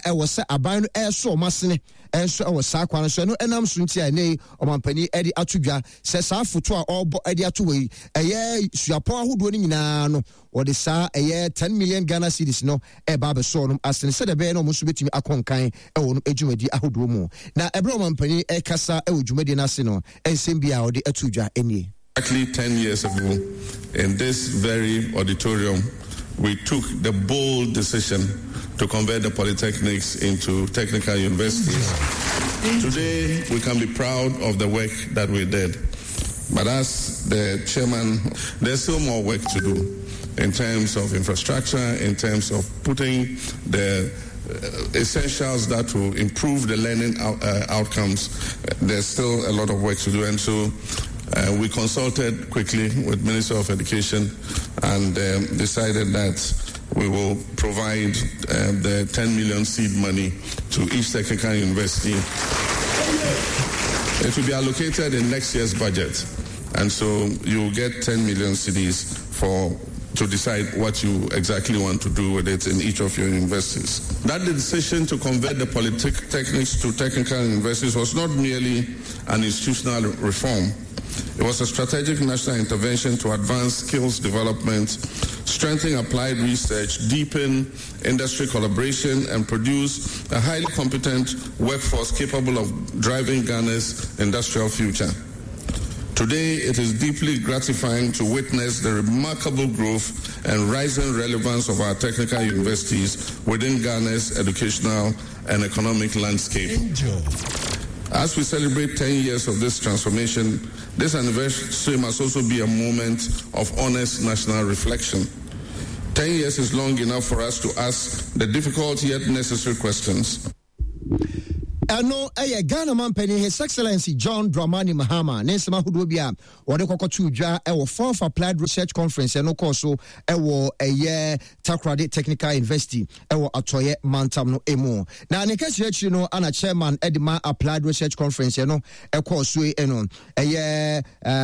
Ɛwɔ sɛ aban no ɛresɔ wɔn asene nso wɔ saa kwan no so. Ɛno ɛnam so nti a ɛnnɛ yi ɔmampanin de ato dwa sɛ saa foto a ɔrebɔ de ato hɔ yi, ɛyɛ suapɔn ahodoɔ no nyinaa no, wɔde saa ɛyɛ 10 million Ghana cedis no ɛreba abɛsɔ wɔn asene sɛdeɛ ɛbɛyɛ na wɔn nso bɛtumi akɔ nkan wɔ wɔn dwumadie ahodoɔ mu. Na ɛberɛ a ɔmampanin ɛrekasa wɔ dwumadie no ase no, nsɛm bi a ɔde ato dwa nie. Exactly 10 years ago, in this very auditorium, we took the bold decision to convert the polytechnics into technical universities. Today, we can be proud of the work that we did. But as the chairman, there's still more work to do in terms of infrastructure, in terms of putting the uh, essentials that will improve the learning out, uh, outcomes. There's still a lot of work to do. And so uh, we consulted quickly with Minister of Education and um, decided that we will provide uh, the 10 million seed money to each technical university. It will be allocated in next year's budget. And so you'll get 10 million cedis for to decide what you exactly want to do with it in each of your universities. That the decision to convert the polytechnics to technical universities was not merely an institutional reform. It was a strategic national intervention to advance skills development, strengthen applied research, deepen industry collaboration, and produce a highly competent workforce capable of driving Ghana's industrial future. Today, it is deeply gratifying to witness the remarkable growth and rising relevance of our technical universities within Ghana's educational and economic landscape. Angel. As we celebrate 10 years of this transformation, this anniversary must also be a moment of honest national reflection. 10 years is long enough for us to ask the difficult yet necessary questions. Ɛno yɛ Ghana manpanin His Excellency John Dramani Mahama ne nsɛm ahodoɔ bi a wɔde kɔkɔtoo dwa wɔ Fourth Applied Research Conference ɛno kɔɔ so wɔ ɛyɛ Takoradi Technical University ɛwɔ Atɔeɛ mantam no mu. Na ne kɛseɛ akyiri no ana chairman de ma Applied Research Conference ɛno ɛkɔɔ so yi no ɛyɛ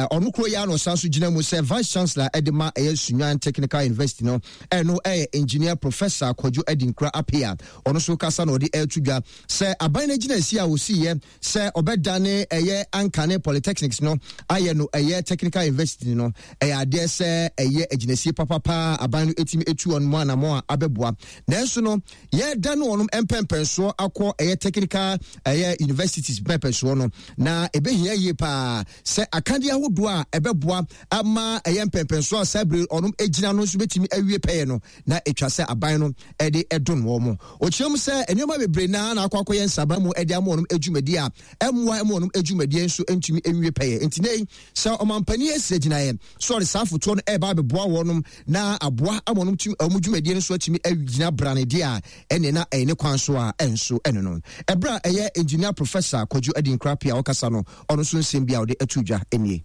ɔno kuro yi ano san so gyina mu sɛ Vice Chancellor de ma ɛyɛ Sunyani Technical University no ɛno ɛyɛ Engineer Professor Kwadwo Adinkra Appiah. Ɔno nso kasa na ɔde ɛreto dwa sɛ aban no agyinasie a ɔsiiɛ sɛ ɔbɛdane ɛyɛ ankane polytechnics no ayɛ no ɛyɛ technical university no ɛyɛ adeɛ sɛ ɛyɛ agyinasie papapaa aban no ɛtumi ɛtu wɔn mu anamɔ a abɛboa nanso no yɛda no wɔn mpɛmpɛnsoɔ akɔ ɛyɛ technical ɛyɛ universities mpɛmpɛnsoɔ no na ɛbɛhia yie paa sɛ akadeɛ ahodoɔ a ɛbɛboa ama ɛyɛ mpɛmpɛnsoɔ a saa bere ɔnom gyina no nso bɛtumi awie pɛyɛ no na ɛtwa sɛ aban no de dom wɔn. Ɔkyerɛ mu sɛ nneɛma bebree naa na akɔ akɔyɛ nsaban mu de ama wɔn adwumadi a ɛmmoa ma wɔn adwumadie nso ntumi nwie pɛyɛ. Nti nɛ yi sɛ ɔmampanin asi agyinaeɛ sɛ ɔde saa afotuo no ɛreba abɛboa wɔn na aboa ama wɔn tumi wɔn dwumadie no nso atumi agyina brane deɛ a ɛne na ɛyɛ ne kwan so a ɛnso ɛno no. Ɛberɛ a ɛyɛ Engineer Professor Kwadwo Adinkra Appiah a ɔkasa no ɔno nso nsɛm bi a ɔde ato dwa nie.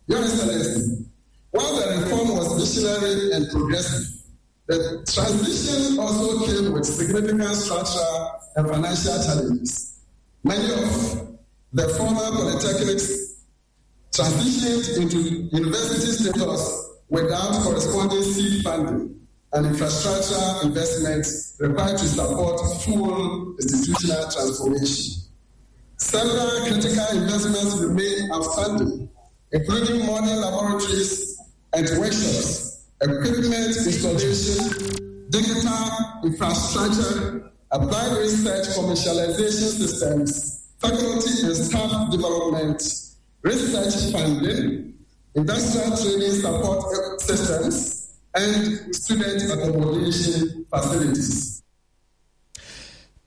Your Excellency, while the reform was visionary and progressive, the transition also came with significant structural and financial challenges. Many of the former polytechnics transitioned into university status without corresponding seed funding and infrastructure investments required to support full institutional transformation. Several critical investments remain outstanding, including modern laboratories and workshops, equipment installation, digital infrastructure, applied research commercialization systems, faculty and staff development, research funding, industrial training support systems, and student accommodation facilities.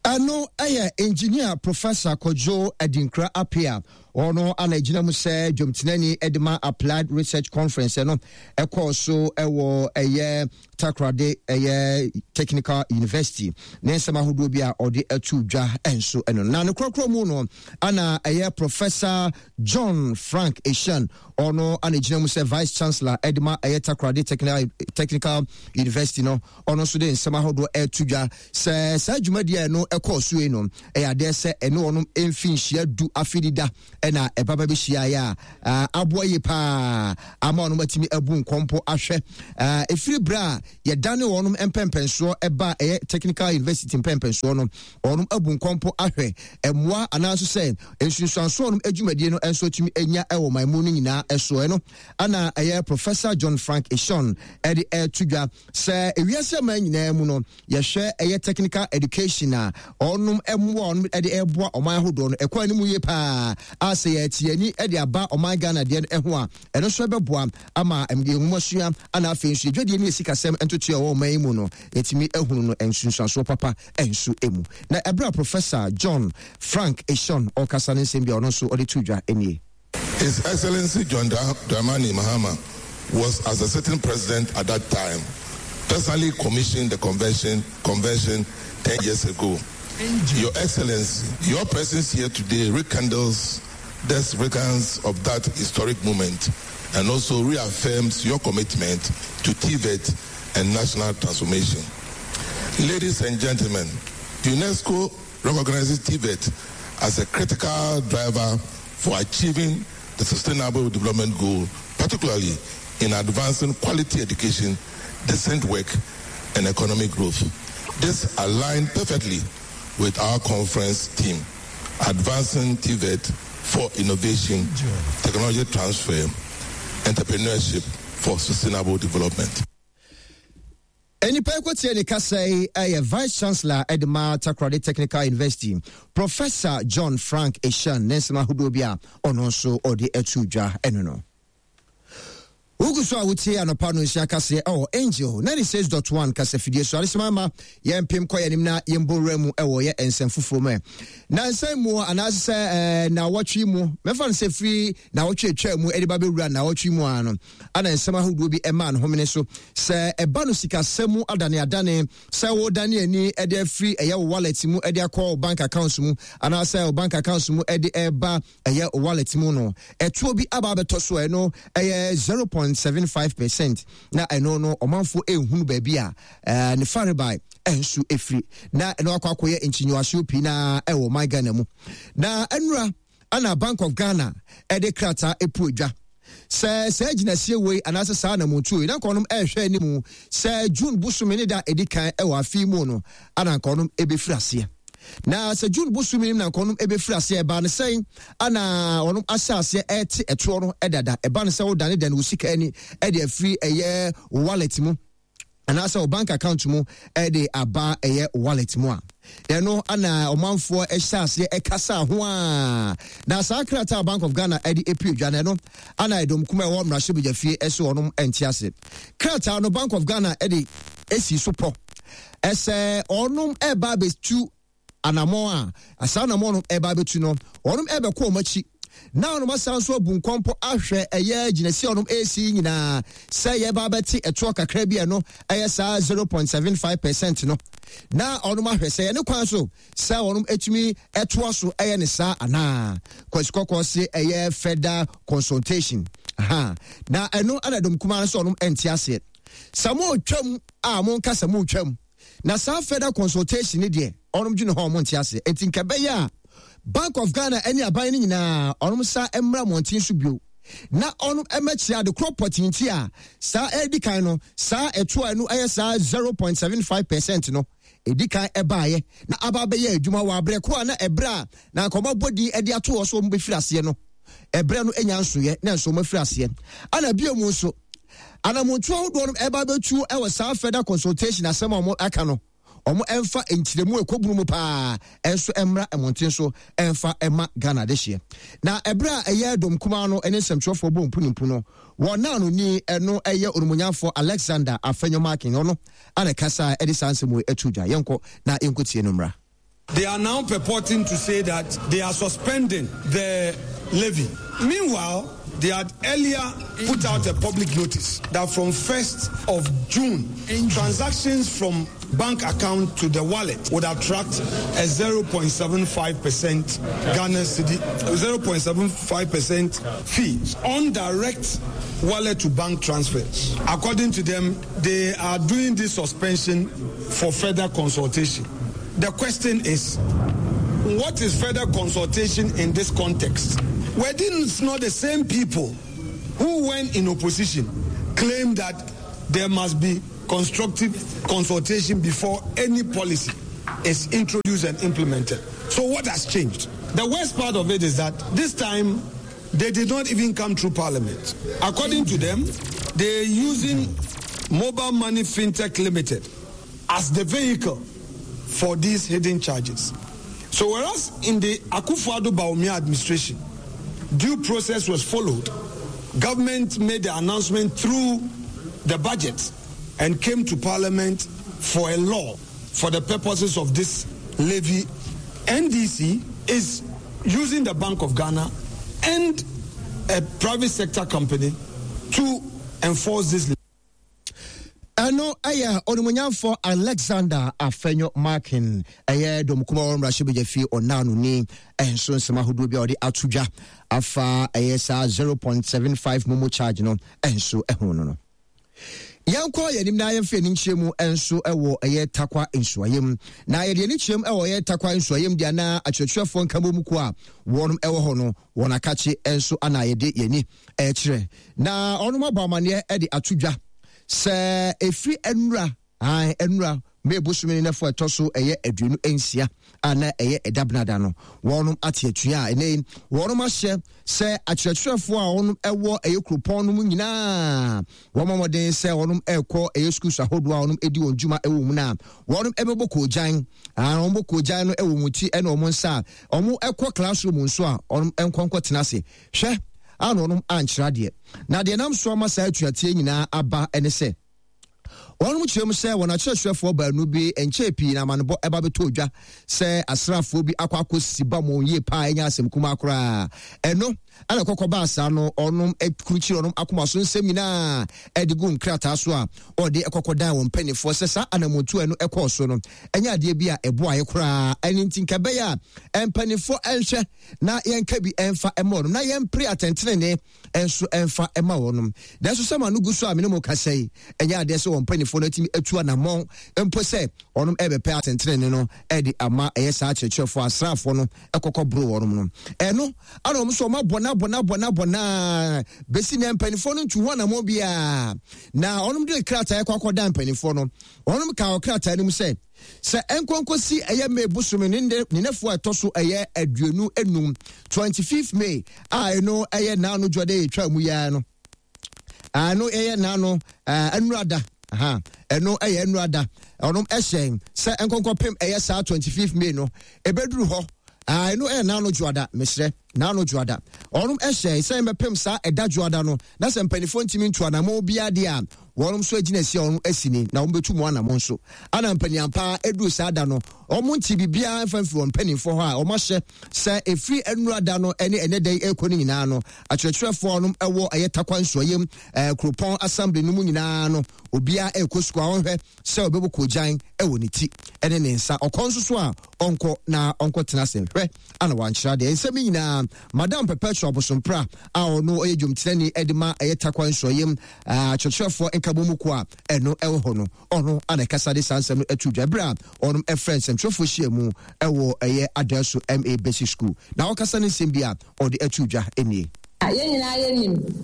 Ɛno yɛ Engineer Professor Kojo Adinkra Appiah. Ɔno ana gyina mu sɛ dwomtenani de ma Applied Research Conference ɛno ɛkɔɔ so ɛwɔ ɛyɛ Takoradi ɛyɛ Technical University ne nsɛm ahodoɔ bi a ɔde ato dwa nso ɛno. Na ne korɔkorɔ mu no ana ɛyɛ Professor John Frank Eshan ɔno ana gyina mu sɛ Vice Chancellor ɛde ma ɛyɛ Takoradi Technical University no ɔno nso de nsɛm ahodoɔ ɛreto dwa sɛ saa dwumadie a ɛno ɛkɔɔ so yi no ɛyɛ adeɛ sɛ ɛne wɔn mfinhyia du afidida ɛna ɛba ba bɛhyiaeɛ a aboa yie paa ama wɔn atumi abu nkɔmpo ahwɛ ɛfiri berɛ a yɛdane wɔn mpɛmpɛnsoɔ ɛba ɛyɛ technical university mpɛmpɛnsoɔ no wɔn abu nkɔmpo ahwɛ mmoa anaa nso sɛ nsunsuansoɔ wɔn adwumadie no nso atumi anya ɛwɔ man mu no nyinaa ɛso ɛno ana ɛyɛ Professor John Frank Eshon ɛde ɛto dwa sɛ ewiase aman nyinaa mu no yɛhwɛ ɛyɛ technical education a ɔnom mmoa ɔnom de ɛboa ɔman ahodoɔ no ɛkɔ anim yie paa a sɛ yɛte ani de aba ɔman Ghana deɛ no ɛho a ɛno nso ɛbɛboa ama nwomasua ana afei nso yɛdwadie ne yɛsikasɛm ntotoeɛ ɛwɔ ɔman yi mu no yɛtumi ahunu no nsunsuansoɔ papa nso mu. Na ɛberɛ a Professor John Frank Eshon ɔrekasa no nsɛm bi a ɔno nso ɔde too dwa nie. His Excellency John Dramani Mahama was as a sitting president at that time personally commissioned the convention convention 10 years ago. Your Excellency, your presence here today rekindles the significance of that historic moment and also reaffirms your commitment to TVET and national transformation. Ladies and gentlemen, UNESCO recognizes TVET as a critical driver for achieving the Sustainable Development Goal, particularly in advancing quality education, decent work, and economic growth. This aligned perfectly with our conference team, Advancing TVET for Innovation, Technology Transfer, Entrepreneurship for Sustainable Development. Nnipa yi kɔtie ne kasa yi yɛ Vice Chancellor de ma Takoradi Technical University, Professor John Frank Eshun ne nsɛm ahodoɔ bi a ɔno nso ɔde ato dwa ɛno no. Wogu so a wotie anɔpa no nsia kaseɛ ɛwɔ Angel 96.1 kasafidie so adesoma ma yɛmpem kɔ yɛnim na yɛmbɔ wura mu ɛwɔ yɛ nsɛm foforɔ mu ɛ. Na nsɛm mu anaasɛ sɛ na wɔtwe mu mɛfa no sɛ firi na wɔtwe atwa mu ɛde ba bɛwura na wɔtwe mu ano ana nsɛm ahodoɔ bi ɛmaa no homene so sɛ ɛba no sikasɛm mu adaneadane sɛ wodane ani de afiri ɛyɛ wo wallet mu de akɔ wo bank accounts mu anaasɛ wo bank accounts mu de ɛba ɛyɛ wo wallet mu no ɛtoɔ bi aba abɛtɔ so ɛno ɛyɛ 0.75 percent na ɛno no ɔmanfoɔ ɛnhunu baabi a ɛɛ ne farebae ɛnso ɛfiri na ɛno akɔ akɔyɛ nkyinyiwasoɔ pii na ɛwɔ man Ghana mu na ɛnura ana Bank of Ghana ɛde krataa epu edwa sɛ saa gyinasie wei anaasɛ saa anamontuo yi na nka ɔnom ɛrehwɛ anim sɛ June bosome ne da edi kan ɛwɔ afe mu no ana nka ɔnom ebefiri aseɛ na sɛ June bosome na nka ɔnom ebefiri aseɛ ɛbaa ne sɛn ana ɔnom ahyɛ aseɛ ɛte ɛtoɔ no ɛdada ɛba ne sɛ wodane dane wo sika ani ɛde afiri ɛyɛ wallet mu anaasɛ wo bank account mu ɛde aba ɛyɛ wallet mu a ɛno ana ɔmanfoɔ ɛhyɛ aseɛ ɛkasa ho a na saa krataa Bank of Ghana ɛde epue dwa no ɛno ana ɛdɔm kuma ɛwɔ mmarahyɛbadwa fie ɛso ɔnom ɛnte ase krataa no Bank of Ghana ɛde esi so pɔ ɛsɛ ɔnom ɛba abɛtu Anammɔn a saa anammɔn no reba abɛtu no, wɔnom rebɛkɔ wɔn akyi na wɔnom asan nso abu nkɔmpɔ ahwɛ ɛyɛ gyinasie a wɔnom resi yi nyinaa sɛ yɛba abɛte ɛtoɔ kakra bi a ɛno ɛyɛ saa 0.75 percent no na wɔnom ahwɛ sɛ yɛne kwan so sɛ wɔnom atumi ɛtoa so ɛyɛ ne saa anaa. Kwasi Kɔkɔɔ se ɛyɛ further consultation. Aha. Na ɛno ɛna dɔm kumaa no sɛ wɔnom ɛnte aseɛ. Sɛ mo retwam a monka sɛ mo retwam. Na saa further consultation ne deɛ ɔnom dwene hɔ ɔmo nte aseɛ nti nka ɛbɛyɛ a Bank of Ghana ɛne aban no nyinaa ɔnom sa mmra mmɔnten so bio na ɔnom ɛmɛkyerɛ ade korɔ pɔtee nti a saa ɛdi kan no saa ɛtoa ɛno ɛyɛ saa 0.75 percent no ɛdi kan ɛbaayɛ na aba abɛyɛ adwuma wɔ abrɛ ko a na ɛbrɛ a na nka ɔmo abɔ din ɛde ato hɔ so ɔmo bɛfiri aseɛ no ɛbrɛ no nya nsoyɛ na nso ɔmo afiri aseɛ ana bio mu nso Anamontuo ahodoɔ no ɛba abɛtuo ɛwɔ saa further consultation asɛm a wɔn aka no wɔn ɛnfa nkyerɛmu ɛkɔbunu mu paa ɛnso ɛmmra mmɔnten so ɛnfa ɛma Ghana adehyeɛ. Na ɛberɛ a ɛyɛ dɔm kumaa no ɛne nsɛmtwerɛfoɔ bɔ mpunimpu no wɔn naanoni ɛno ɛyɛ onimonyamfoɔ Alexander Afenyo Markin ɔno ana ɛkasa ɛde saa nsɛm wei ɛto dwa. Yɛnkɔ na yɛnkɔtie no mmra. They are now purporting to say that they are suspending the levy. Meanwhile, they had earlier put out a public notice that from 1st of June, transactions from bank account to the wallet would attract a 0.75% Ghana cedi, 0.75% fee on direct wallet to bank transfers. According to them, they are doing this suspension for further consultation. The question is, What is further consultation in this context? Were these not the same people who, when in opposition, claimed that there must be constructive consultation before any policy is introduced and implemented? So what has changed? The worst part of it is that this time they did not even come through parliament. According to them, they're using Mobile Money FinTech Limited as the vehicle for these hidden charges. So whereas in the Akufo-Addo Bawumia administration, due process was followed, government made the announcement through the budget and came to parliament for a law for the purposes of this levy. NDC is using the Bank of Ghana and a private sector company to enforce this. Ɛno yɛ Onimuonyamfoɔ Alexander Afenyo Markin, ɛyɛ dɔm kuma wɔ mmarahyɛbadwa fie ɔnaanoni nso nsɛm ahodoɔ bi a ɔde ato dwa afa ɛyɛ saa 0.75 momo charge no nso ho no no. Yɛnkɔ yɛn anim na yɛmfa yɛn nkyerɛ mu nso wɔ ɛyɛ Takwa nsuayɛm. Na yɛde yɛn nkyerɛ mu wɔ ɛyɛ Takwa nsuayɛm deɛ na akyerɛkyerɛfoɔ nkabom kuo a wɔn wɔ hɔ no wɔn akakye nso ana yɛde yɛn ani ɛkyerɛ. Na wɔn abɔ amaneɛ de ato dwa sɛ ɛfiri nnura Aane, nnora, May bosome ne nɛfo a ɛtɔ so ɛyɛ 26 a na ɛyɛ ɛda benada no, wɔnom ate atua a ɛnɛ yi wɔnom ahyɛ sɛ akyerɛkyerɛfoɔ a wɔnom ɛwɔ ɛyɛ kuropɔn no mu nyinaa wɔn mmɔden sɛ wɔnom ɛrekɔ ɛyɛ schools ahodoɔ a wɔnom ɛdi wɔn dwuma ɛwɔ mu no a wɔnom ɛbɛbɔ koogyan. Aane, wɔn bɔ koogyan no ɛwɔ wɔn ti ɛne wɔn nsa a wɔn ɛkɔ classroom nso a wɔnom ɛnkɔ nkɔ tena ase. Hwɛ, a na wɔnom ankyerɛ adeɛ. Na deɛ nam so ama saa atuateɛ nyinaa aba ɛne sɛ, Wɔnom kyerɛ mu sɛ wɔn akyerɛkyerɛfoɔ baanu bi nkyɛɛ pii na amanebɔ ɛba bɛtɔɔ dwa sɛ asraafoɔ bi akɔ akɔsi ba wɔn yie paa ɛnyɛ asɛm kumaa koraa. Ɛno ɛna kɔkɔ baa saa no ɔnom kurukyiri ɔnom akoma so nsɛm nyinaa ɛde gu nkrataa so a ɔde ɛkɔkɔ dan wɔn mpanimfoɔ sɛ saa anamontuo ɛno ɛkɔɔ so no ɛnyɛ adeɛ bi a ɛboaeɛ koraa. Ɛno nti nka ɛbɛyɛ a mpanimfoɔ ɛnhwɛ na yɛnka bi ɛmfa ɛma wɔnom na yɛmpere atɛntenenee nso mfa mma wɔnom. Nanso sɛ ma no gu so a me ne mo kasa yi, ɛnyɛ adeɛ sɛ wɔn mpanimfoɔ no atumi atu anammɔn mpo sɛ wɔnom ɛrebɛpɛ atɛntenenee no de ama ɛyɛ saa akyerɛkyerɛfoɔ asraafoɔ no kɔkɔ boro wɔnom no. Ɛno ana wɔn nso wɔn abɔ no abɔ no abɔ no abɔ no ara bɛsi nɛ mpanimfoɔ no ntu ho anammɔn biara. Na wɔnom de krataa kɔ akɔda mpanimfoɔ no. Wɔnom kaa wɔ krataa no mu sɛ, Sɛ ɛnkɔnkɔsi ɛyɛ May bosome ne ne nɛfoɔ a ɛtɔ so ɛyɛ 25, 25th May a ɛno ɛyɛ naano dwɔde yɛtwa mu yɛa no, ɛno ɛyɛ naano ɛnurada, ɛno ɛyɛ ɛnurada, ɔnom ɛhyɛn sɛ ɛnkɔnkɔpem ɛyɛ saa 25th May no ɛbɛduru hɔ, ɛno ɛyɛ naano dwoada, mesrɛ. N'ano Dwoada. Wɔnom hyɛe sɛ yɛmbɛpem saa ɛda Dwoada no, na sɛ mpaninfoɔ ntumi ntu anamɔn biara deɛ a, wɔnom nso agyinasie a wɔnom asi ni, na wɔn bɛtu mu anamɔn nso. Ana mpanin ampa ara ɛduru saa da no, wɔn ntee biribiara mfa mfiri wɔn mpaninfoɔ hɔ a wɔn ahyɛ sɛ ɛfiri nnura da no ne ɛnɛ da yi ɛrekɔ no nyinaa no, akyerɛkyerɛfoɔ a wɔnom ɛwɔ ɛyɛ Tarkwa Nsuayem ɛɛ Kuropɔn Assembly no mu nyinaa no, obiara ɛrekɔ sukuu a ɔnhwɛ sɛ ɔbɛbɔ koogyan wɔ ne ti ne ne nsa. Ɔkɔ nso so a, ɔnkɔ na ɔnkɔtena ase nhwɛ ana wankyerɛ adeɛ. Nsɛm yi nyinaa, Madam Perpetua Bosompra a ɔno ɔyɛ dwomtenani de ma ɛyɛ Tarkwa Nsuayem akyerɛkyerɛfoɔ nkabom kuo a ɛno ɛwɔ hɔ no, ɔno ana ɛkasa de saa nsɛm no ato dwa berɛ a ɔnom ɛfrɛ nsɛmtwerɛfoɔ hyia mu ɛwɔ ɛyɛ Adanso MA Basic School. Na ɔkasa no nsɛm bi a ɔde ato dwa nie. Yɛn nyinaa yɛnim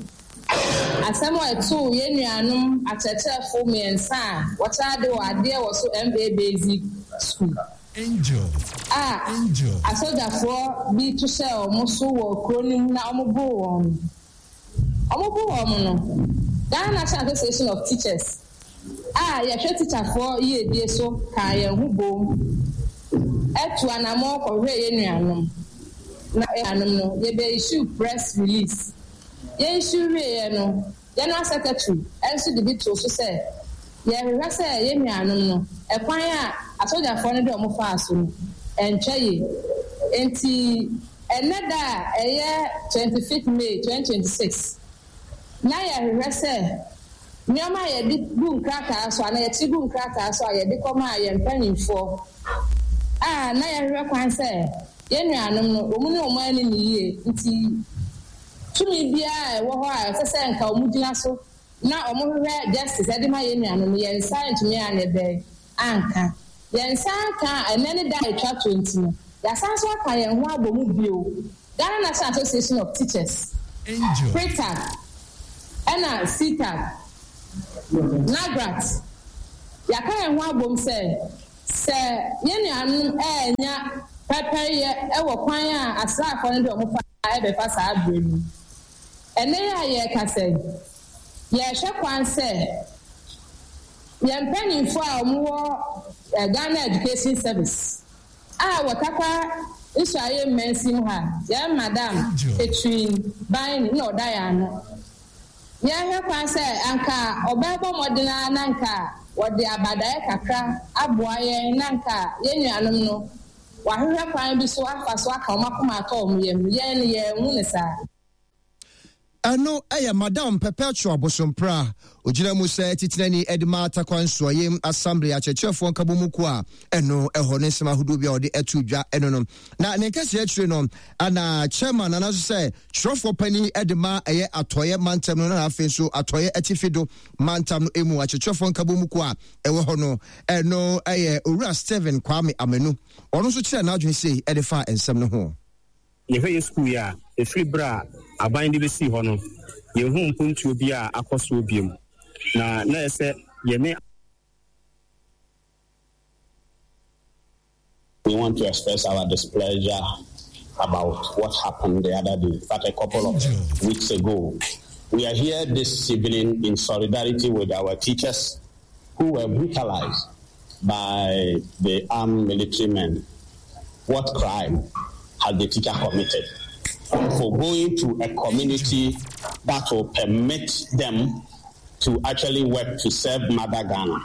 asɛm a ɛtoo yɛn nuanom akyerɛkyerɛfo mmiɛnsa a wɔkyerɛ ade wɔ adeɛ wɔ so MA Basic School a asogyafoɔ bi to hyɛɛ wɔn so wɔ kuro no mu na wɔboro wɔn no. Wɔboro wɔn no, Ghana National Association of Teachers a yɛhwɛ tikyafoɔ yiedie so kaa yɛn ho boom tuu anammɔn kɔhwehwɛɛ yɛn nuanom. Na yɛn nuanom no, yɛbɛ issue press release. Yɛ issue wieeɛ no, General Secretary nso de bi too so sɛ yɛrehwehwɛ sɛ yɛn nuanom no, ɛkwan a asogyafoɔ no de wɔn faa so no, ɛntwa yie. Enti ɛnnɛ da a ɛyɛ 25th May 2026, na yɛrehwehwɛ sɛ Nneɛma a yɛde gu nkrataa so anaa yɛkyere gu nkrataa so a yɛde kɔmaa yɛn mpanimfoɔ a na yɛhwehwɛ kwan sɛ yɛn nuanom no, wɔn ne wɔn anni no yie nti, tumi biara a ɛwɔ hɔ a ɛsɛ sɛ nka wɔgyina so na wɔhwehwɛ justice de ma yɛn nuanom no, yɛn nsa antumi anyɛ dɛn anka. Yɛn nsa anka a ɛnnɛ ne da a ɛtwa toɔ nti no. Yɛasan nso aka yɛn ho abɔ mu bio, Ghana National Association of Teachers, PRETAG, ɛna CTAG, NAGRAT. Yɛaka yɛn ho abom sɛ, sɛ yɛn nuanom annya pɛrpɛryɛ wɔ kwan a asraafoɔ no de wɔn fa rebɛfa saa berɛ no mu. Ɛnnɛ yi a yɛrekasa yi, yɛrehwɛ kwan sɛ yɛn mpanimfoɔ a wɔwɔ Ghana Education Service a wɔ Tarkwa Nsuaeɛ mmansin mu ha, yɛn Madam Catherine Baini na ɔda yɛn ano. Yɛrehwɛ kwan sɛ anka ɔbɛbɔ mmɔden ara na anka wɔde abadaeɛ kakra aboa yɛn na anka yɛn nuanom no wɔahwehwɛ kwan bi so afa so aka wɔn akoma atɔ wɔn yam. Yɛn no, yɛanhu no saa. Ɛno yɛ Madam Perpetua Bosompra a ɔgyina mu sɛ titenani de ma Tarkwa Nsuaeɛm Assembly Akyerɛkyerɛfoɔ Nkabom Kuo a ɛno ɛhɔ ne nsɛm ahodoɔ bi a ɔde ato dwa ɛno no. Na ne nkɛseɛ akyire no ana chairman anaso sɛ twerɛfoɔ panin de ma ɛyɛ Atɔeɛ mantam no na afei nso Atɔeɛ Atifi do mantam no emu akyerɛkyerɛfoɔ nkabom kuo a ɛwɔ hɔ no ɛno ɛyɛ Owura Stephen Kwame Amanu. Ɔno nso kyerɛɛ n'adwene sei de faa nsɛm no ho. Yɛhwɛ yɛn sukuu yi a, ɛfiri berɛ a aban de bɛsii hɔ no, yɛnhuu mpuntuo biara a akɔ soɔ bio, na na ɛyɛ sɛ yɛne. We want to express our displeasure about what happened the other day, in fact, a couple of weeks ago. We are here this evening in solidarity with our teachers who were brutalized by the armed military men. What crime has the teacher committed? For going to a community that will permit them to actually work to serve Mother Ghana.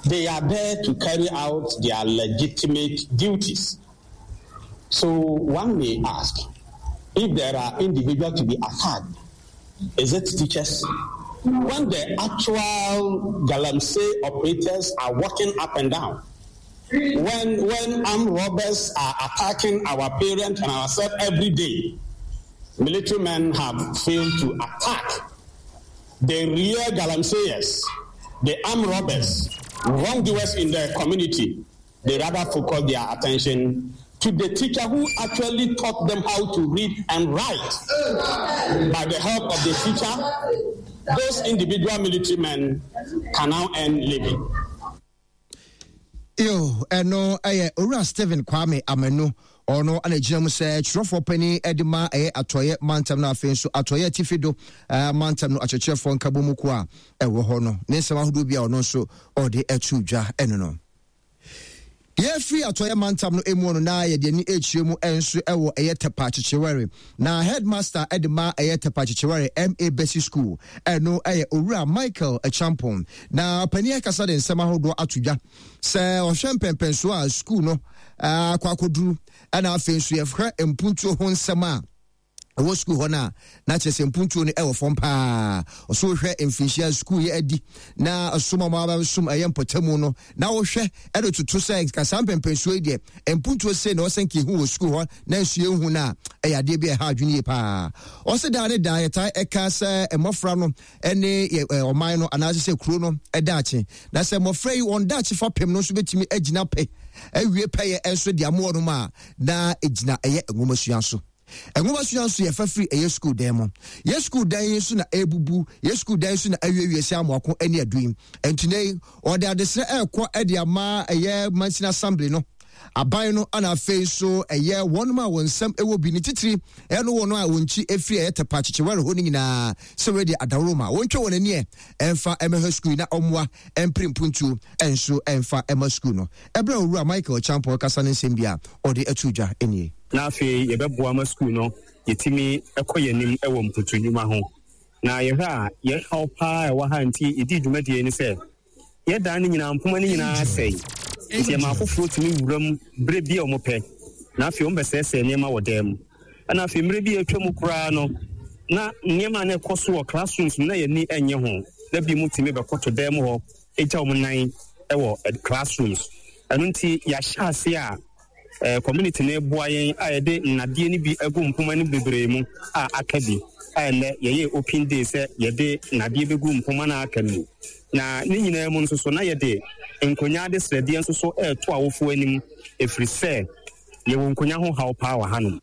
They are there to carry out their legitimate duties. So one may ask if there are individuals to be attacked, is it teachers? When the actual Galamsey operators are walking up and down, when, when armed robbers are attacking our parents and ourselves every day, military men have failed to attack the real galamseyers, the armed robbers, wrongdoers in the community. They rather focus their attention to the teacher who actually taught them how to read and write. By the help of the teacher, those individual military men can now earn living. Yo, ɛno ɛyɛ Owura Stephen Kwame Amanu. Ɔno ana gyina mu sɛ twerɛfoɔ panin de ma ɛyɛ atɔeɛ mantam no afei nso atɔeɛ atifi do eh, mantam no akyerɛkyerɛfoɔ nkabɔ mu kuo a ɛwɔ hɔ no ne nsɛm ahodoɔ bi a ɔno nso ɔde ato dwa ɛno no. Yɛfiri atɔeɛ mantam no mu no na yɛde ani rekyerɛ mu nso wɔ ɛyɛ Tɛpa Kyekyewɛre. Na headmaster de ma ɛyɛ Tɛpa Kyekyewɛre MA Basic School ɛno ɛyɛ Owura Michael Acheampong. Na ɔpanin akasa de nsɛm ahodoɔ ato dwa sɛ ɔhwɛ mpɛmpɛnsoɔ a school no akɔ akɔduru ɛna afei nso yɛhwɛ mpuntuo ho nsɛm a ɛwɔ sukuu hɔ no a na kyerɛ sɛ mpuntuo no ɛwɔ fam paa. Ɔso wohwɛ mfinhyia sukuu yɛ adi na ɔsom a wɔabɛsom ɛyɛ mpɔtamu no na wohwɛ ɛde toto sɛ nka saa mpɛmpɛnsuo yi deɛ mpuntuo sei na ɔsɛ nka ehu wɔ sukuu hɔ na nso yɛnhu no a ɛyɛ adeɛ bi a ɛha adwene yie paa. Ɔse daa ne daa yɛtae ɛka sɛ mmɔfra no ɛne yɛ ɔman no anaasɛ sɛ kuro no daakye na sɛ mmɔfra yi wɔn daakye fapem no nso bɛtumi agyina pɛ awie pɛyɛ nso de amoɔ no mu a na ɛgyina ɛyɛ nwomasua so. Nwomasua nso yɛfa firi ɛyɛ sukuu dan mu. Yɛ sukuu dan yi nso na ɛrebubu, yɛ sukuu dan nso na awiewie sɛ amoako ne adu yi. Nti nɛ yi, ɔde adesrɛ ɛrekɔ de ama ɛyɛ Mansin Assembly no, aban no, ana afei nso ɛyɛ wɔn a wɔn nsɛm ɛwɔ bi ne titiri ɛno wɔn a wɔn nkyi ɛfiri ɛyɛ Tɛpa Kyekyewɛre hɔ no nyinaa sɛ wɔadi adaworo ma wɔntwa wɔn ani ɛ ɛmfa ɛmɛhwɛ sukuu yi na ɔmmoa ɛmpere mpuntuo ɛnso ɛmfa ɛma sukuu no. Ɛberɛ a Owura Michael Kyampɔn rekasa no nsɛm bi a ɔde ato dwa nie. Na afei yɛbɛboa ma sukuu no yɛtumi kɔ yɛn anim wɔ mputu nnwuma ho. Na yɛhwɛ a, yɛn haw pa ara a ɛwɔ ha nti yɛdii dwumadie yi ne sɛ, yɛn dan no nyinaa, mpoma no nyinaa asɛe, nti yɛma afoforɔ tumi wura mu berɛ bi a wɔpɛ, na afei wɔbɛsɛesɛe nneɛma wɔ dan mu. Ɛna afei mmerɛ bi a atwa mu koraa no, na nneɛma a na ɛkɔ so wɔ classrooms mu na yɛn ani nnye ho, na binom tumi bɛkɔto dan mu hɔ gya wɔn nan wɔ classrooms. Ɛno nti yɛahyɛ aseɛ a eh, community no boa yɛn a yɛde nnadeɛ no bi agu mpoma no bebree mu a aka bi a ɛnnɛ yɛyɛ open day sɛ yɛde nnadeɛ bɛgu mpoma no a aka no mu. Na ne nyinaa mu nso so na yɛde nkonnwa adesrɛdeɛ nso so ɛreto awofoɔ anim ɛfiri sɛ Yɛwɔ nkonya ho haw paa wɔ hanom.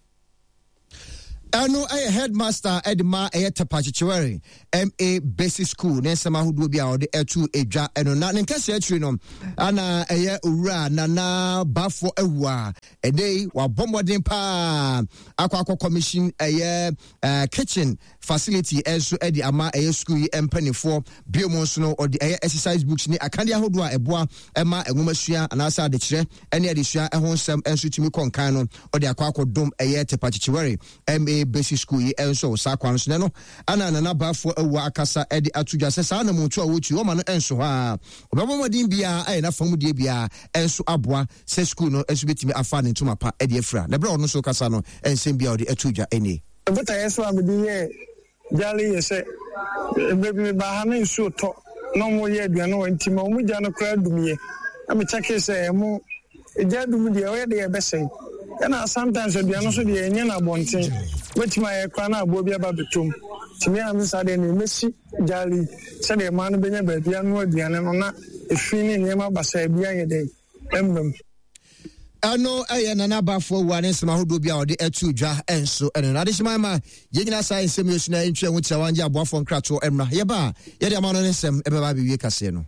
Ɛno yɛ headmaster de ma ɛyɛ Tepa Kyekyewere MA Basic School ne nsɛm ahodoɔ bi a ɔde ɛto edwa ɛno na ne nkɛseɛ akyiri no ana ɛyɛ owura Nana Bafo Awua ɛdɛ yi wabɔ mmɔden paa akɔ akɔ commission ɛyɛ kitchen facility nso de ama ɛyɛ sukuu yi mpanimfoɔ. Bio mu nso no, ɔde ɛyɛ exercise books ne akadeɛ ahodoɔ a ɛboa ma nwomasua anaasɛ adekyerɛ ne adesua ho nsɛm nso tumi kɔ nkan no, ɔde akɔ akɔdom ɛyɛ Tepa Kyekyewere MA Basic School yi nso wɔ saa kwan no so. Na ɛno ana Nana Baffour Awuah akasa de ato dwa sɛ saa anammɔntuo a wɔretu yi, wɔma no nso hɔ ara. Ɔbɛbɔ mmɔden biara ayɛ n'afamudeɛ biara nso aboa sɛ sukuu no nso bɛtumi afa ne ntoma pa de afira. Na berɛ a ɔno nso rekasa no, nsɛm bi a ɔde ato dwa nie. Me botaeɛ so a mede yɛɛ gyaale yɛ sɛ, mmerɛ bi mebaa ha na nsuo tɔ na wɔreyɛ aduane wɔ nti ma wɔn gya no koraa dumiiɛ na me kyɛkee sɛ ɛmo gya dum deɛ ɔyɛ deɛ ɛbɛsɛe ɛna sometimes aduane nso deɛ ɛnyɛ no abɔnten wobɛtumi ayɛ koraa na aboa bi aba bɛtɔ mu nti me a me saa deɛ ne mɛsi gyaale yi sɛdeɛ mmaa no bɛnya baabi anoa aduane no na efi ne nneɛma basaa bi ayɛ dɛn ɛmma mu. Ɛno yɛ Nana Bafo Awuah ne nsɛm ahodoɔ bi a ɔde ato dwa nso ɛno no. Adehyeman ma yɛn nyinaa saa nsɛm yi so na ɛntwa ho tirawa ngye aboafoɔ nkratoɔ mmra. Yɛba a, yɛde ama no ne nsɛm ɛbɛba abɛwie kaseɛ no.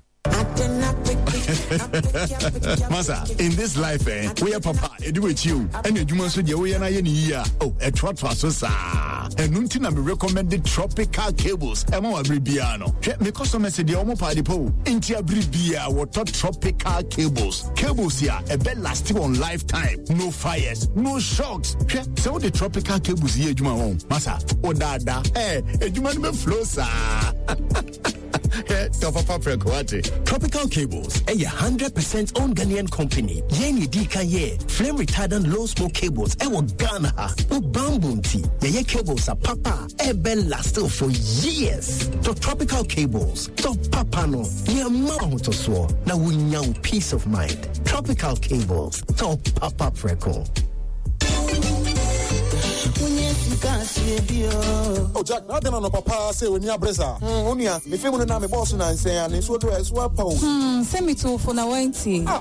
Masa, in this life, eh, we are papa, edu with you, and you must say, we are not here. Oh, a trot so sa. And nti me recommended tropical cables. Ema wa bibia no. Hwɛ me customers deɛ ɔmo paade po. Nti abiri bia wɔtɔ tropical cables. Cables ya ɛbɛ last wɔn lifetime. No fires, no shocks. Hwɛ sɛ wode tropical cables yɛ adwuma wɔn. Masa, o daadaa. Eh, adwuma no bɛ flow saa. Hwɛ tɔ papa prɛko wate. Tropical Cables ɛyɛ 100% owned Ghanaian company. Yɛn yɛ di kan yɛ flame retardant low smoke cables ɛwɔ Ghana ha. Wo bamboo nti yɛyɛ cables a papa ɛbɛ last for years. Tɔ Tropical Cables, tɔ papa no, yɛ mma ahotosoɔ na wonya wo peace of mind. Tropical Cables, tɔ papa prɛko. Oh Jack, na adɛn anɔpa paa sɛ w'ani abere saa? Hmm, onua, me fam no na me bɔɔso nansɛn a ne nsuo do a ɛso apa o. Hmm, sɛ metu wo fo na woantie. Ah!